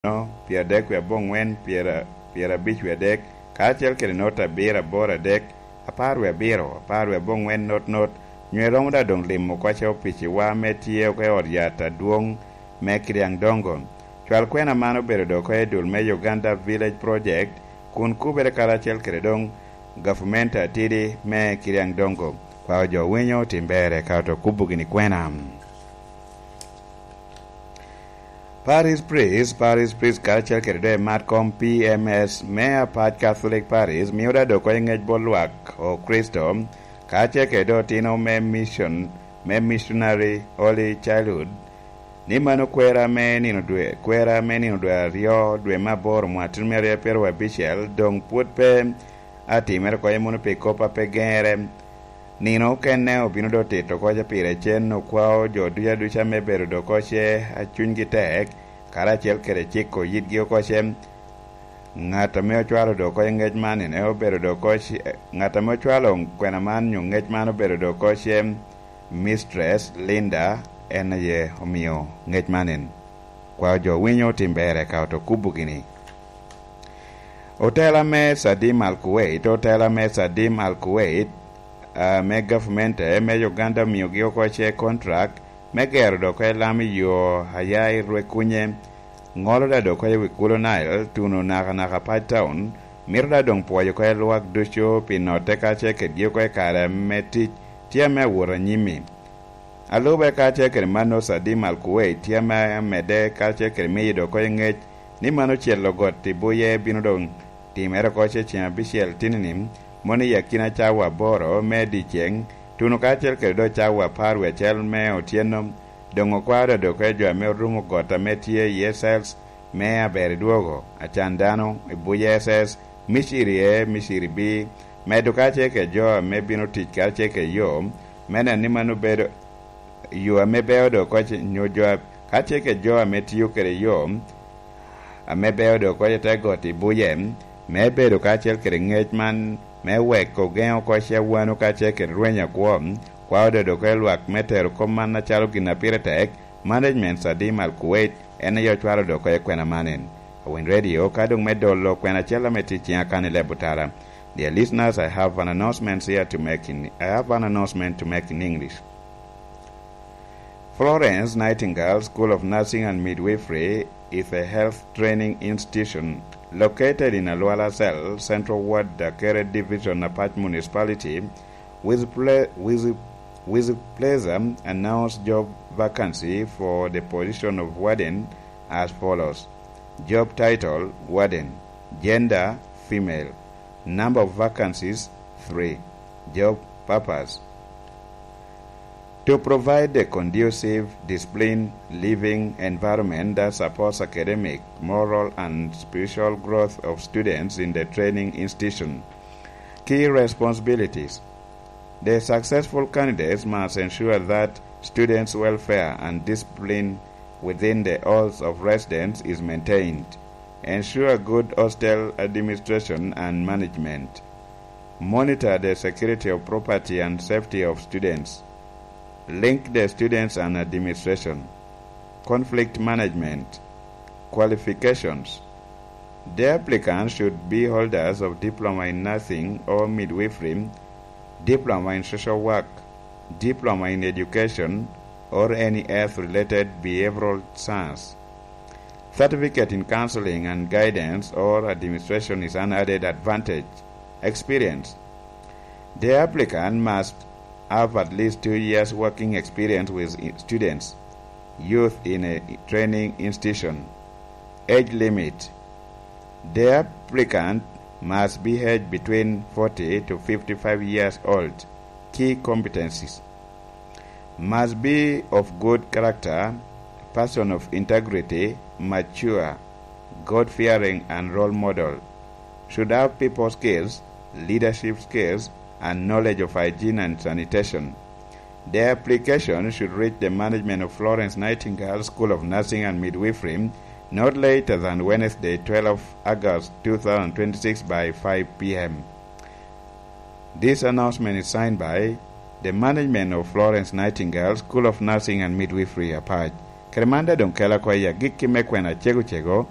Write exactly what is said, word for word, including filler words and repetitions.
nono, pyeradek wie aboŋwen, pyera-, pyerabic wie adek, karacel kede not abiro aboro adek, apar wie abiro, apar wie aboŋwen not not, nyo iromo daŋ doŋ limo oko opic-ciwa ame tye oko i ot yat adwoŋ me Kiriaŋ Dongo. Cwal kwena man obedo doŋ oko i dul me Uganda Village Project, kun kubere karacel kede doŋ gavumenti atidi me Kiriaŋ Dongo. Kwao jo winyo tim berre ka oto kubo gini kwena. Parish priest, parish priest karacel kede doŋ i mat kom P M S me Apac Catholic Parish mio daŋ doŋ oko i ŋec bot lwak o Kricito, karacel kede doŋ otino me mission, me missionary Holy Childhood, ni mano kwera me nino dwe, kwera me nino dwe aryo, dwe me aboro, mwaka tino me aryo pyeraryo abicel, doŋ pwod pe atimere oko i muno pi kop a pe geŋere. Nino okene obino doŋ tito oko ce pire cen, okwao jo ducu aduca me bedo doŋ oko ce a cunygi tek, karacel kede ciko yitgi oko ce. Ŋat ame ocwalo doŋ oko i ŋec man, ene obedo doŋ oko ce, ŋat ame ocwalo kwena man nyo ŋec man obedo doŋ oko ce Mistress Linda, en aye omio ŋec man en. Kwao jo winyo tim berre ka oto kubo gini. Otela me Sadim Al Kuwait, otela me Sadim Al Kuwait, ah, me gavumenti me Uganda omiogi oko ce contract me gero doŋ oko i lam i yo a ya i Rwekunye, ŋolo daŋ doŋ oko i wi kulo Nile, tuno nakanaka Pac Town, mito daŋ doŋ pwoyo oko i lwak ducu pi notte karacel kedgi oko i kare ame tic tye ame awot anyim-mi. A lube karacel kede mano, Sadim Al Kuwait tye ame amedde karacel kede miyo doŋ oko i ŋec ni mano ocelo got i buye bino doŋ timere oko ce ceŋ abicel tini-ni, mono i akina cawa aboro me dyeceŋ, tuno karacel kede doŋ cawa apar wie acel me otyeno. Doŋ okwao daŋ doŋ oko i jo ame orumo got ame tye iye cell me aber i dwogo, acan dano, i buye S S, miciri A, miciri B, medo karacel kede jo ame bino tic karacel kede yo, me neno ni mano bedo yo ame beo doŋ oko ce-, nyo jo a-, karacel kede jo ame tio kede yo ame beo doŋ oko i te got i buye, me bedo karacel kede ŋec man, me wek ogeŋ oko ce wano karacel kede rweny akwo, kwao doŋ oko i lwak me tero kop man acalo gin a pire tek, management Sadim Al Kuwait, en aye ocwalo doŋ oko i kwena man en. Awiny Radio, ka doŋ me dolo kwena acel ame tye i ciŋa kan i leb otara. Dear listeners, I have an announcement here to make in, I have an announcement to make in English. Florence Nightingale School of Nursing and Midwifery is a health training institution located in Alwala Cell, Central Ward, Dakere Division, Apac Municipality, with ple-, with, with pleasure announce job vacancy for the position of warden as follows. Job title, warden. Gender, female. Number of vacancies, three. Job purpose. To provide a conducive, disciplined, living environment that supports academic, moral, and spiritual growth of students in the training institution. Key responsibilities. The successful candidates must ensure that students' welfare and discipline within the halls of residence is maintained. Ensure good hostel administration and management. Monitor the security of property and safety of students. Link the students and administration. Conflict management. Qualifications. The applicants should be holders of diploma in nursing or midwifery, diploma in social work, diploma in education, or any health-related behavioral science. Certificate in counseling and guidance or administration is an added advantage. Experience. The applicant must have at least two years working experience with i-, students, youth in a training institution. Age limit. The applicant must be aged between forty to fifty-five years old. Key competencies. Must be of good character, person of integrity, mature, God-fearing and role model. Should have people skills, leadership skills, and knowledge of hygiene and sanitation. The application should reach the management of Florence Nightingale School of Nursing and Midwifery not later than Wednesday, twelfth August two thousand twenty-six by five p.m. This announcement is signed by the management of Florence Nightingale School of Nursing and Midwifery, Apac. Kede man daŋ doŋ kela oko i agikki me kwena cego cego,